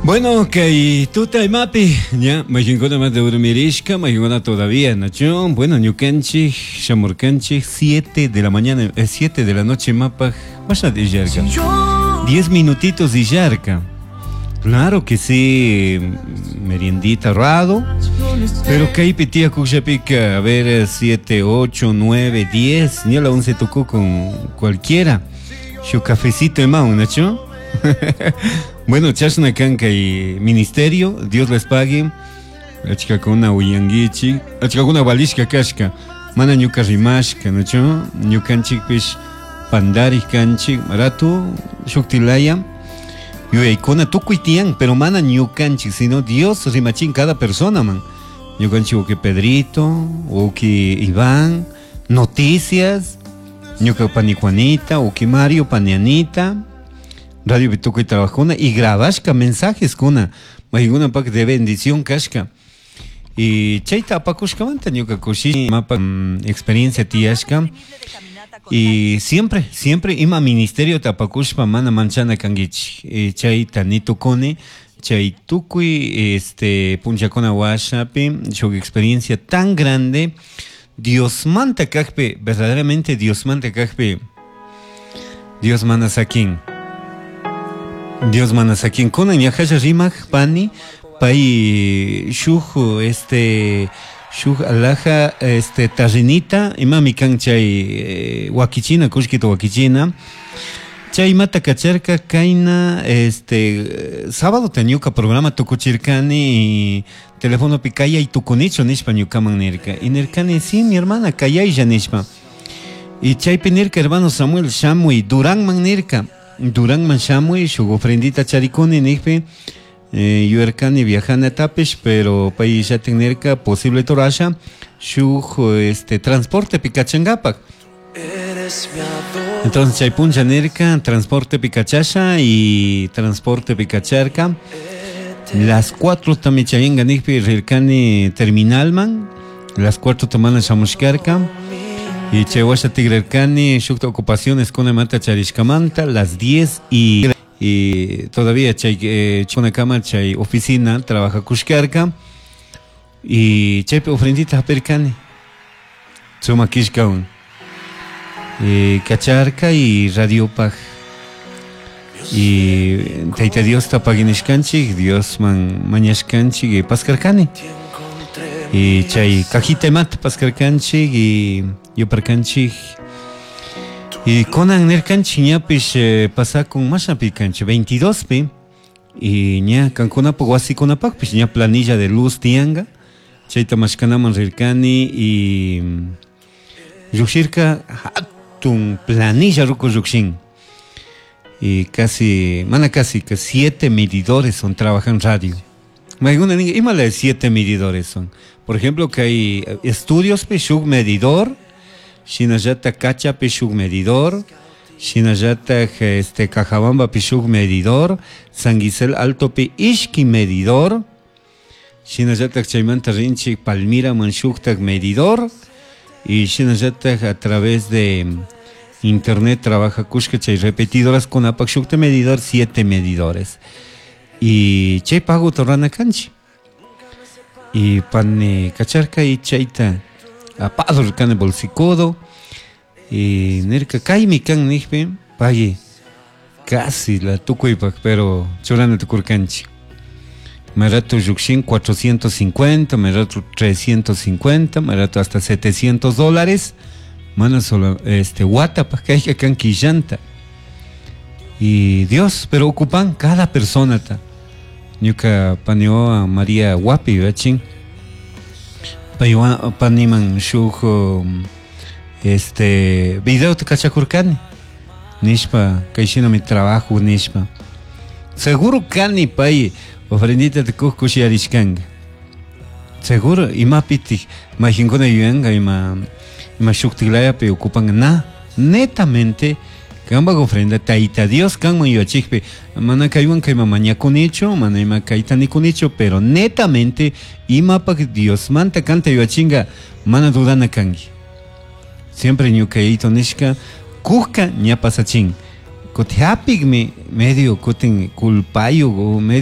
Bueno, kay tuta imapi, ña, mayqinkuna mana dormirishka, mayqinkuna todavía, nachu? Bueno, ñukanchik shamurkanchik 7 de la mañana, 7 de la noche imapaj, masha illarka. 10 minutitos illarka. Claro que sí, meriendita rado, pero kaypi tiyakushapika, a ver, 7, 8, 9, 10, ni a la 11 tocó con cualquiera. Shu cafecito imawan, nachu? Bueno, chashna kan kay ministerio, Dios les pague. Achkakuna uyanguichik, achkakuna valishka kashka, mana ñuka rimashka, nachu? Ñukanchikpish pandarik kanchik, ratu shuktilaya yuyaykuna tukuy tiyan, pero mana ñukanchik, sino Dios rimachin cada persona man. Ñukanchik uki Pedrito, uki Iván, noticias, ñuka pani Juanita, uki Mario, pani Anita, Radio tukuy trabajuna y grabashka mensajes kuna, maykunapak de bendición kashka. Y chayta apakushkamanta ñuka kushi mapa experiencia tiyashka. Y siempre, siempre ima ministerio tapakushpa mana manchana kankichik. Y chayta nitukuni, chay tukuy este punchakuna washapi, shuk experiencia tan grande, Diosmanta kajpi, verdaderamente Diosmanta kajpi, Dios mana sakin. Dios mana sakin. Kunan ñajalla rimak pani, pay shuk este shuk alhaja este tarrinita, imami kan chay wakichina, kullkita wakichina. Chay imata kacharka kayna este sábado ta ñuka programa tukuchirkani y telefonopi kayay tukunichu nishpa ñukaman nirka. Y nirkani, sí, mi hermana, kayaylla nishpa. Y chaypi nirka, hermano Samuel, shamuy, Duranman nirka. Duranman shamuy, shuk ofrendita charikuni nijpi, yuyarkani viajanatapish, pero pay llatin nirka, posible torasha, shuk este transporte kachangapak. Entonces chay puncha nirka, transporte kachasha y transporte kacharka. Las 4 también chayenga nijpi rirkani terminalman, las 4 tamana shamushkarka. Y chay washa tigrarkani shukta ocupaciones con mata charishkamanta, las 10 y todavía chay chunakama chay oficina trabaja kushkarka. Y chaypi ofrendita hapirkani. Suma kishkawan. Kacharka y radiopaj. Y Tayta Dios tapaginishkanchik, Dios man mañashkanchik y paskarkani. Y chay cajita imata paskarkanchik y yuparkanchik. Y kunan nirkanchik ñapish pasakun mashapi kanchik 22 pi. Y ña kankunapaq wasikunapaqpish ña planilla de luz tiyanka. Chayta mashkanaman rirkani y lluqshirka hatun planilla ruku lluqshin. Y casi, mana casi, que 7 medidores son, trabajan radio. Mayguna ninga, ima la de 7 medidores son. Por ejemplo, que hay estudios pi shuk medidor, shinallata Cacha pi shuk medidor, shinallata este Cajabamba pi shuk medidor, San Gisel Alto pi ishki medidor, shinallata chaymanta rinchik Palmira man shuktak medidor, y shinallata a través de internet trabaja kushka chay repetidoras con apak shukta medidor, 7 medidores. Y chay pago torrana kanchi. Y pane kacharka y chayta apado rikane bolsicodo. Y nirka kaymi kan nijpi, pague casi la tukuypak, pero churana tukurkanchi. Merato yukshin 450, merato 350, merato hasta 700 dólares. Mana solo este wata pa kayka kan quillanta. Y Dios, pero ocupan cada persona ta. Ñuka panioa María Wapi, ¿vachin? Paywa paniman shuk este video te kachakurkani. Nishpa, kayshina mi trabajo nishpa. Seguro kani pay ofrendita te kushiyarishkanga. Seguro imapiti mayqinkuna yuyanka ima shuktilayapi ocupan na netamente kanpak ofrenda Tayta Dios kanman yuyachikpi mana kaywan kayman mañakunichu mana ima kayta nikunichu pero netamente imapak Diosmanta kanta yuyachinka mana dudana kanki. Siempre ñukayito nishka kujka ña pasachin. Kuti hapikmi medio kutin culpayo o medio